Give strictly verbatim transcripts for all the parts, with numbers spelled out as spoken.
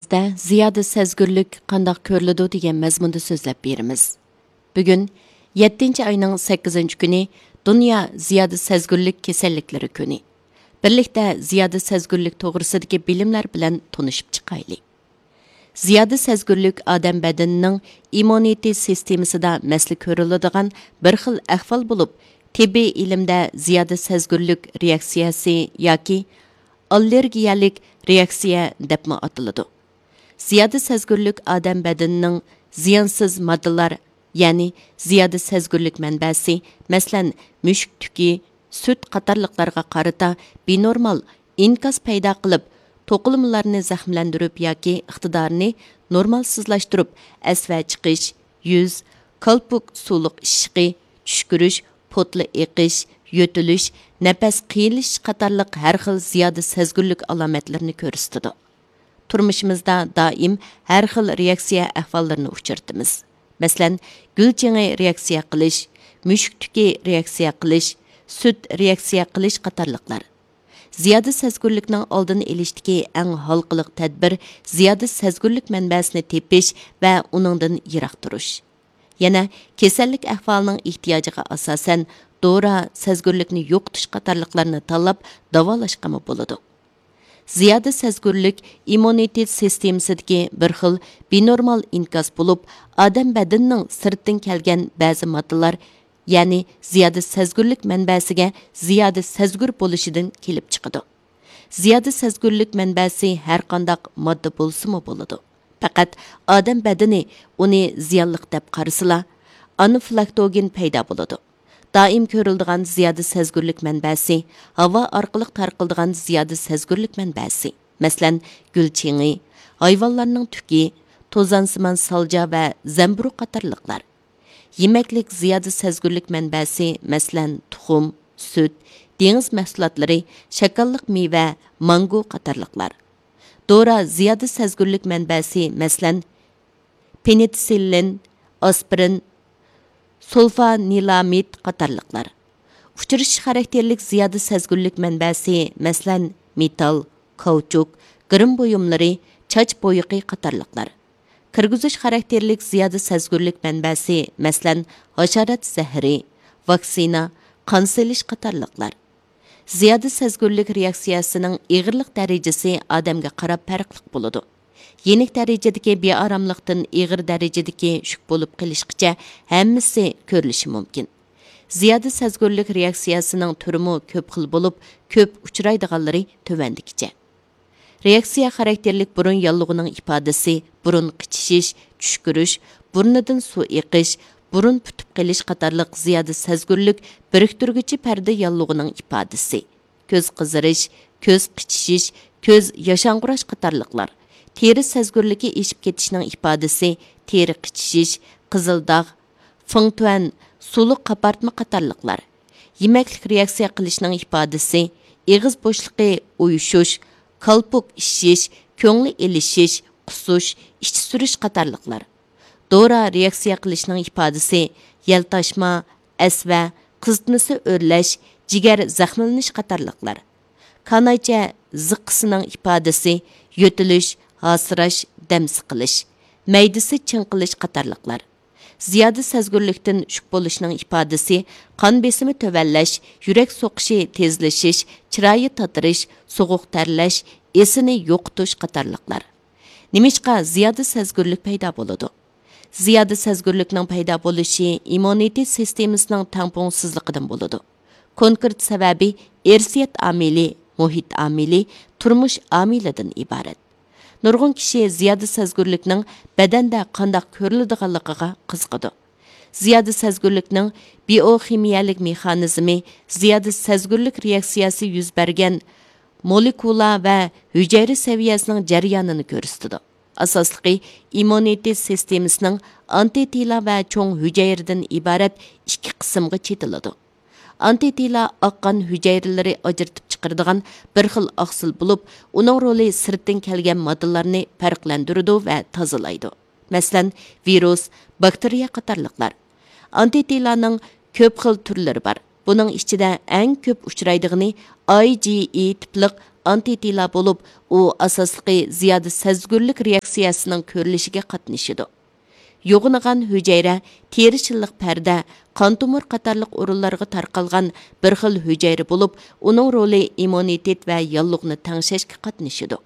دەرسىمىزدە زىيادە سەزگۈرلۈك قانداق كۆرۈلىدۇ دېگەن مەزمۇندا سۆزلەپ بېرىمىز. بۈگۈن يەتتىنچى ئاينىڭ سەككىزىنچى كۈنى دۇنيا زىيادە سەزگۈرلۈك كېسەللىكلىرى كۈنى. بىرلىكتە زىيادە سەزگۈرلۈك توغرىسىدىكى بىلىملەر بىلەن تونۇشۇپ چىقايلى. زىيادە سەزگۈرلۈك ئادەم بەدىنىنىڭ ئىممۇنىتېت سىستېمىسىدا مەسىلە كۆرۈلىدىغان بىر خىل ئەھۋال بولۇپ، تېببىي ئىلىمدە زىيادە سەزگۈرلۈك رېئاكسىيەسى ياكى ئاللېرگىيەلىك رېئاكسىيە دەپمۇ ئاتىلىدۇ. زىيادە سەزگۈرلۈك ئادەم بەدىنىنىڭ زىيانسىز ماددىلار، يەنى زىيادە سەزگۈرلۈك مەنبەسى، مەسىلەن، مۈشۈك تۈكى، سۈت قاتارلىقلارغا قارىتا بىنورمال ئىنكاس پەيدا قىلىپ، توقۇلمىلارنى زەخىملەندۈرۈپ ياكى ئىقتىدارىنى نورمالسىزلاشتۇرۇپ، ئەسۋە چىقىش، يۈز، كالپۇك سۇلۇق ئىششىقى، چۈشكۈرۈش، پوتلا ئېقىش، يۆتىلىش، نەپەس قىيىنلىشىش قاتارلىق ھەر خىل زىيادە سەزگۈرلۈك ئالامەتلىرىنى كۆرسىتىدۇ. تۇرمۇشىمىزدا دائىم ھەر خىل رېئاكسىيە ئەھۋاللىرىنى ئۇچرىتىمىز. مەسىلەن، گۈل چېڭى رېئاكسىيە قىلىش، مۈشۈك تۈكى رېئاكسىيە قىلىش، سۈت رېئاكسىيە قىلىش قاتارلىقلار. زىيادە سەزگۈرلۈكنىڭ ئالدىنى ئېلىشتىكى ئەڭ ھالقىلىق تەدبىر زىيادە سەزگۈرلۈك مەنبەسىنى تېپىش ۋە ئۇنىڭدىن يىراق تۇرۇش. يەنە كېسەللىك ئەھۋالىنىڭ ئېھتىياجىغا ئاساسەن دورا، سەزگۈرلۈكنى يوقىتىش قاتارلىقلارنى تاللاپ داۋالاشقىمۇ بولىدۇ. زىيادە سەزگۈرلۈك ئىممۇنىتېت سىستېمىسىدىكى بىر خىل بىنورمال ئىنكاس بولۇپ، ئادەم بەدىنىنىڭ سىرتتىن كەلگەن بەزى ماددىلار، يەنى زىيادە سەزگۈرلۈك مەنبەسىگە زىيادە سەزگۈر بولۇشىدىن كېلىپ چىقىدۇ. زىيادە سەزگۈرلۈك مەنبەسى ھەرقانداق ماددا بولسىمۇ بولىدۇ. پەقەت ئادەم بەدىنى ئۇنى زىيانلىق دەپ قارىسىلا، ئانافىلاكتوگېن پەيدا بولىدۇ. دائىم كۆرۈلىدىغان زىيادە سەزگۈرلۈك مەنبەسى، ھاۋا ئارقىلىق تارقىلىدىغان زىيادە سەزگۈرلۈك مەنبەسى، مەسىلەن، گۈل چېڭى، ھايۋانلارنىڭ تۈكى، توزانسىمان سالجا ۋە زەمبۇرۇغ قاتارلىقلار. يېمەكلىك زىيادە سەزگۈرلۈك مەنبەسى، مەسىلەن، تۇخۇم، سۈت، دېڭىز مەھسۇلاتلىرى، شاكاللىق مېۋە، مانگو قاتارلىقلار. دورا زىيادە سەزگۈرلۈك مەنبەسى، مەسىلەن، پېنىتسىللىن، ئاسپىرىن، سۇلفانىلامىد قاتارلىقلار. ئۇچرىشىش خاراكتېرلىك زىيادە سەزگۈرلۈك مەنبەسى، مەسىلەن، مېتال، كاۋچۇك، گىرىم بۇيۇملىرى، چاچ بويىقى قاتارلىقلار. كىرگۈزۈش خاراكتېرلىك زىيادە سەزگۈرلۈك مەنبەسى، مەسىلەن، ھاشارات زەھىرى، ۋاكسىنا، قان سېلىش قاتارلىقلار. زىيادە سەزگۈرلۈك رېئاكسىيەسىنىڭ ئېغىرلىق دەرىجىسى ئادەمگە قاراپ پەرقلىق بولىدۇ. يېنىك دەرىجىدىكى بىئاراملىقتىن ئېغىر دەرىجىدىكى شۈك بولۇپ قېلىشقىچە ھەممىسى كۆرۈلۈشى مۇمكىن. زىيادە سەزگۈرلۈك رېئاكسىيەسىنىڭ تۈرىمۇ كۆپ خىل بولۇپ، كۆپ ئۇچرايدىغانلىرى تۆۋەندىكىچە. رېئاكسىيە خاراكتېرلىك بۇرۇن ياللۇغىنىڭ ئىپادىسى، بۇرۇن قىچىشىش، چۈشكۈرۈش، بۇرنىدىن سۇ ئېقىش، بۇرۇن پۈتۈپ قېلىش قاتارلىق زىيادە سەزگۈرلۈك بىرىكتۈرگۈچى پەردە ياللۇغىنىڭ ئىپادىسى، كۆز قىزىرىش، كۆز قىچىشىش، كۆز ياشاڭغۇراش قاتارلىقلار. تېرە سەزگۈرلۈكى ئېشىپ كېتىشنىڭ ئىپادىسى، تېرە قىچىشىش، قىزىل داغ، فېڭتۈەن، سۇلۇق قاپارتما قاتارلىقلار. يېمەكلىك رېئاكسىيە قىلىشنىڭ ئىپادىسى، ئېغىز بوشلۇقى ئۇيۇشۇش، كالپۇك ئىششىش، كۆڭلى ئېلىشىش، قۇسۇش، ئىچى سۈرۈش قاتارلىقلار. دورا رېئاكسىيە قىلىشنىڭ ئىپادىسى، يەلتاشما، ئەسۋە، قىزىتمىسى ئۆرلەش، جىگەر زەخىملىنىش قاتارلىقلار. كانايچە زىققىسىنىڭ ئىپادىسى، يۆتىلىش، ھاسىراش، دەم سىقىلىش، مەيدىسى چىڭقىلىش قاتارلىقلار. زىيادە سەزگۈرلۈكتىن شۈك بولۇشنىڭ ئىپادىسى، قان بېسىمى تۆۋەنلەش، يۈرەك سوقۇشى تېزلىشىش، چىرايى تاتىرىش، سوغۇق تەرلەش، ئېسىنى يوقىتىش قاتارلىقلار. نېمىشقا زىيادە سەزگۈرلۈك پەيدا بولىدۇ؟ زىيادە سەزگۈرلۈكنىڭ پەيدا بولۇشى ئىممۇنىتېت سىستېمىسىنىڭ تەڭپۇڭسىزلىقىدىن بولىدۇ. كونكرېت سەۋەبى ئىرسىيەت ئامىلى، مۇھىت ئامىلى، تۇرمۇش ئامىلىدىن ئىبارەت. نۇرغۇن كىشى زىيادە سەزگۈرلۈكنىڭ بەدەندە قانداق كۆرۈلىدىغانلىقىغا قىزىقىدۇ. زىيادە سەزگۈرلۈكنىڭ بىئوخىمىيەلىك مېخانىزمى زىيادە سەزگۈرلۈك رېئاكسىيەسى يۈز بەرگەن مولېكۇلا ۋە ھۈجەيرە سەۋىيەسىنىڭ جەريانىنى كۆرسىتىدۇ. ئاساسلىقى ئىممۇنىتېت سىستېمىسىنىڭ ئانتىتىلا ۋە چوڭ ھۈجەيرىدىن ئىبارەت ئىككى قىسىمغا چېتىلىدۇ. ئانتىتىلا ئاق قان ھۈجەيرىلىرى ئاجرىتىپ چىقىرىدىغان بىر خىل ئاقسىل بولۇپ، ئۇنىڭ رولى سىرتتىن كەلگەن ماددىلارنى پەرقلەندۈرىدۇ ۋە تازىلايدۇ. مەسىلەن، ۋىرۇس، باكتېرىيە قاتارلىقلار. ئانتىتىلانىڭ كۆپ خىل تۈرلىرى بار. بۇنىڭ ئىچىدە ئەڭ كۆپ ئۇچرايدىغىنى ئاي جى ئى تىپلىق ئانتىتىلا بولۇپ، ئۇ ئاساسلىقى زىيادە سەزگۈرلۈك رېئاكسىيەسىنىڭ كۆرۈلۈشىگە قاتنىشىدۇ. يوغىنىغان ھۈجەيرە، تېرە شىللىق پەردە، قان تومۇر قاتارلىق ئورۇنلارغا تارقالغان بىر خىل ھۈجەيرە بولۇپ، ئۇنىڭ رولى ئىممۇنىتېت ۋە ياللۇغنى تەڭشەشكە قاتنىشىدۇ.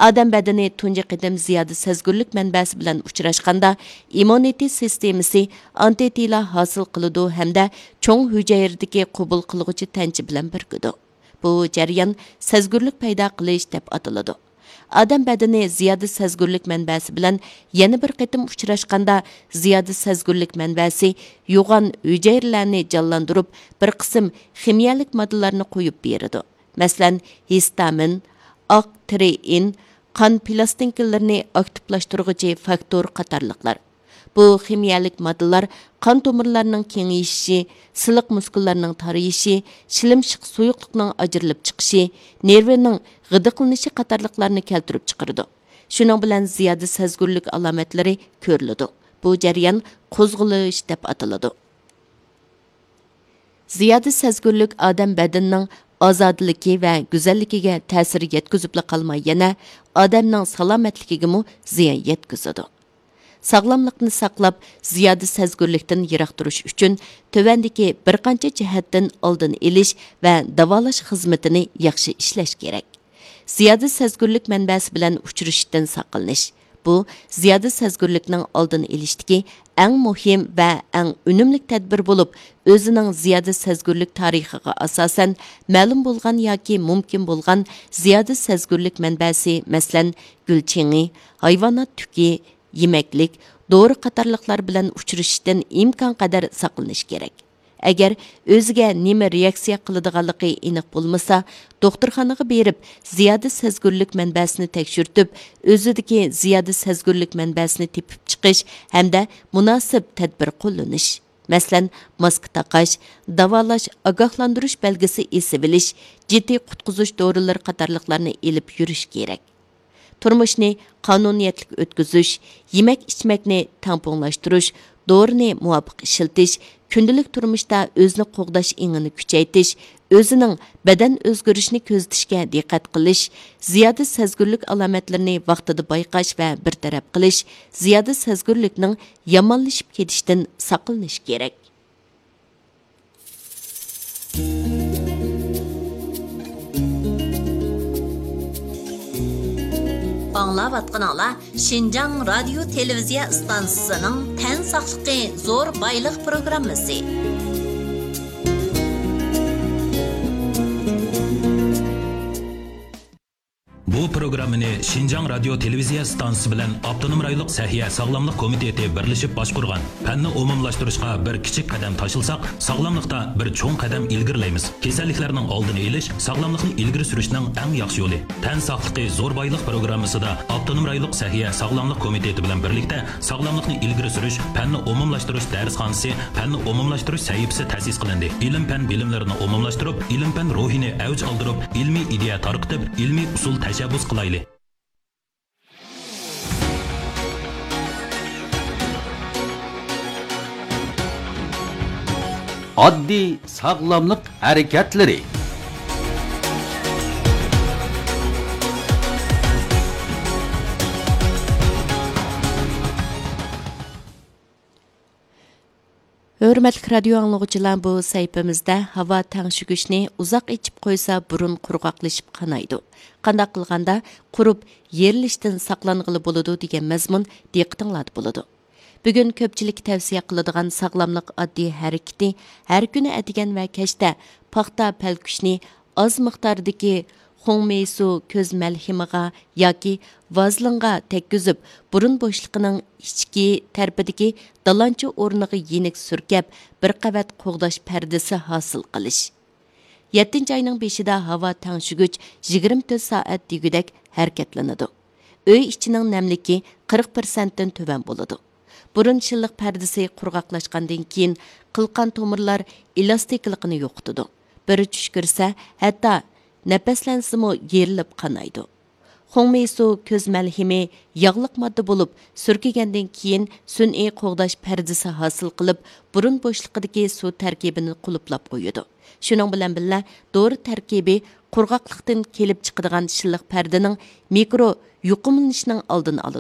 ئادەم بەدىنى تۇنجى قېتىم زىيادە سەزگۈرلۈك مەنبەسى بىلەن ئۇچراشقاندا، ئىممۇنىتېت سىستېمىسى ئانتىتىلا ھاسىل قىلىدۇ ھەمدە چوڭ ھۈجەيرىدىكى قوبۇل قىلغۇچى تەنچە بىلەن بىرىكىدۇ. بۇ جەريان سەزگۈرلۈك پەيدا قىلىش دەپ ئاتىلىدۇ. ئادەم بەدىنى زىيادە سەزگۈرلۈك مەنبەسى بىلەن يەنە بىر قېتىم ئۇچراشقاندا، زىيادە سەزگۈرلۈك مەنبەسى يوغان ھۈجەيرىلەرنى جانلاندۇرۇپ، بىر قىسىم خىمىيەلىك ماددىلارنى قويۇپ بېرىدۇ. مەسىلەن، ھىستامىن، ئاق تىرېئىن، قان پىلاستىنكىلىرىنى ئاكتىپلاشتۇرغۇچى فاكتور قاتارلىقلار. بۇ خىمىيەلىك ماددىلار قان تومۇرلارنىڭ كېڭىيىشى، سىلىق مۇسكۇللارنىڭ تارىيىشى، شىلىمشىق سۇيۇقلۇقنىڭ ئاجرىلىپ چىقىشى، نېرۋىنىڭ غىدىقلىنىشى قاتارلىقلارنى كەلتۈرۈپ چىقىرىدۇ. شۇنىڭ بىلەن زىيادە سەزگۈرلۈك ئالامەتلىرى كۆرۈلىدۇ. بۇ جەريان قوزغىلىش دەپ ئاتىلىدۇ. زىيادە سەزگۈرلۈك ئادەم بەدىنىنىڭ ئازادىلىكى ۋە گۈزەللىكىگە تەسىر يەتكۈزۈپلا قالماي، يەنە ئادەمنىڭ سالامەتلىكىگىمۇ زىيان يەتكۈزىدۇ. ساغلاملىقنى ساقلاپ، زىيادە سەزگۈرلۈكتىن يىراق تۇرۇش ئۈچۈن تۆۋەندىكى بىر قانچە جەھەتتىن ئالدىنى ئېلىش ۋە داۋالاش خىزمىتىنى ياخشى ئىشلەش كېرەك. زىيادە سەزگۈرلۈك مەنبەسى بىلەن ئۇچرىشىشتىن ساقلىنىش. بۇ زىيادە سەزگۈرلۈكنىڭ ئالدىنى ئېلىشتىكى ئەڭ مۇھىم ۋە ئەڭ ئۈنۈملۈك تەدبىر بولۇپ، ئۆزىنىڭ زىيادە سەزگۈرلۈك تارىخىغا ئاساسەن، مەلۇم بولغان ياكى مۇمكىن بولغان زىيادە سەزگۈرلۈك مەنبەسى، مەسىلەن، گۈل چېڭى، ھايۋانات تۈكى، يېمەكلىك، دورا قاتارلىقلار بىلەن ئۇچرىشىشتىن ئىمكانقەدەر ساقلىنىش كېرەك. ئەگەر ئۆزىگە نېمە رېئاكسىيە قىلىدىغانلىقى ئېنىق بولمىسا، دوختۇرخانىغا بېرىپ، زىيادە سەزگۈرلۈك مەنبەسىنى تەكشۈرتۈپ، ئۆزىدىكى زىيادە سەزگۈرلۈك مەنبەسىنى تېپىپ چىقىش ھەمدە مۇناسىپ تەدبىر قوللىنىش. مەسىلەن، ماسكا تاقاش، داۋالاش، ئاگاھلاندۇرۇش بەلگىسى ئېسىۋېلىش، جىددىي قۇتقۇزۇش دورىلىرى قاتارلىقلارنى ئېلىپ يۈرۈش كېرەك. تۇرمۇشنى قانۇنىيەتلىك ئۆتكۈزۈش، يېمەك-ئىچمەكنى تەڭپۇڭلاشتۇرۇش، دورىنى مۇۋاپىق ئىشلىتىش، كۈندىلىك تۇرمۇشتا ئۆزىنى قوغداش ئېڭىنى كۈچەيتىش، ئۆزىنىڭ بەدەن ئۆزگىرىشىنى كۆزىتىشكە دىققەت قىلىش، زىيادە سەزگۈرلۈك ئالامەتلىرىنى ۋاقتىدا بايقاش ۋە بىر تەرەپ قىلىش، زىيادە سەزگۈرلۈكنىڭ يامانلىشىپ كېتىشىدىن ساقلىنىش كېرەك. ئاڭلاۋاتقىنىڭلار شىنجاڭ رادىيو تېلېۋىزىيە ئىستانسىسىنىڭ تەن ساقلىقى زور بايلىق پروگراممىسى. بۇ پروگراممىنى شىنجاڭ رادىيو تېلېۋىزىيە ئىستانسىسى بىلەن ئاپتونوم رايونلۇق سەھىيە ساغلاملىق كومىتېتى بىرلىشىپ باشقۇرغان. پەننى ئومۇملاشتۇرۇشقا بىر كىچىك قەدەم تاشلىساق، ساغلاملىقتا بىر چوڭ قەدەم ئىلگىرىلەيمىز. كېسەللىكلەرنىڭ ئالدىنى ئېلىش، ساغلاملىقنى ئىلگىرى سۈرۈشنىڭ ئەڭ ياخشى يولى. تەن ساقلىقى زور بايلىق پروگراممىسىدا ئاپتونوم رايونلۇق سەھىيە ساغلاملىق كومىتېتى بىلەن بىرلىكتە ساغلاملىقنى ئىلگىرى سۈرۈش، پەننى ئومۇملاشتۇرۇش دەرسخانىسى، پەننى ئومۇملاشتۇرۇش سەھىپىسى تەسىس قىلىندى. ئىلىم-پەن بىلىملىرىنى ئومۇملاشتۇرۇپ، ئىلىم-پەن روھىنى ئەۋج ئالدۇرۇپ، ئىلمىي ئىدىيە تارقىتىپ، ئىلمىي ئۇسۇل تەشەببۇس قىلايلى. ئاددىي ساغلاملىق ھەرىكەتلىرى. ھۆرمەتلىك رادىيو ئاڭلىغۇچىلار، بۇ سەھىپىمىزدە ھاۋا تەڭشىگۈچنى ئۇزاق ئېچىپ قويسا، بۇرۇن قۇرغاقلىشىپ قانايدۇ. قانداق قىلغاندا قۇرۇپ يېرىلىشتىن ساقلانغىلى بولىدۇ دېگەن مەزمۇن دىققىتىڭلاردا بولىدۇ. بۈگۈن كۆپچىلىككە تەۋسىيە قىلىدىغان ساغلاملىق ئاددىي ھەرىكىتى ھەر كۈنى ئەتىگەن ۋە كەچتە پاختا پەلكۈشنى ئاز مىقداردىكى خۇڭمېيسۇ كۆز مەلھىمىغا ياكى ۋازلىنغا تەگكۈزۈپ، بۇرۇن بوشلۇقىنىڭ ئىچكى تەرىپىدىكى دالانچا ئورنىغا يېنىك سۈركەپ، بىر قەۋەت قوغداش پەردىسى ھاسىل قىلىش. يەتتىنچى ئاينىڭ بېشىدا ھاۋا تەڭشىگۈچ يىگىرمە تۆت سائەت دېگۈدەك ھەرىكەتلىنىدۇ. ئۆي ئىچىنىڭ نەملىكى قىرىق پىرسەنتتىن تۆۋەن بولىدۇ. بۇرۇن شىللىق پەردىسى قۇرغاقلاشقاندىن كېيىن، قىلقان تومۇرلار ئېلاستىكلىقىنى يوقىتىدۇ. بىر چۈش كىرسە، ھەتتا نەپەسلەنسىمۇ يېرىلىپ قانايدۇ. خۇڭمېيسۇ كۆز مەلھىمى ياغلىق ماددا بولۇپ، سۈركىگەندىن كېيىن سۈنئىي قوغداش پەردىسى ھاسىل قىلىپ، بۇرۇن بوشلۇقىدىكى سۇ تەركىبىنى قۇلۇپلاپ قويىدۇ. شۇنىڭ بىلەن بىللە، دورا تەركىبى قۇرغاقلىقتىن كېلىپ چىقىدىغان شىللىق پەردىنىڭ مىكرو يۇقۇملىنىشىنىڭ ئالدىنى ئالىدۇ.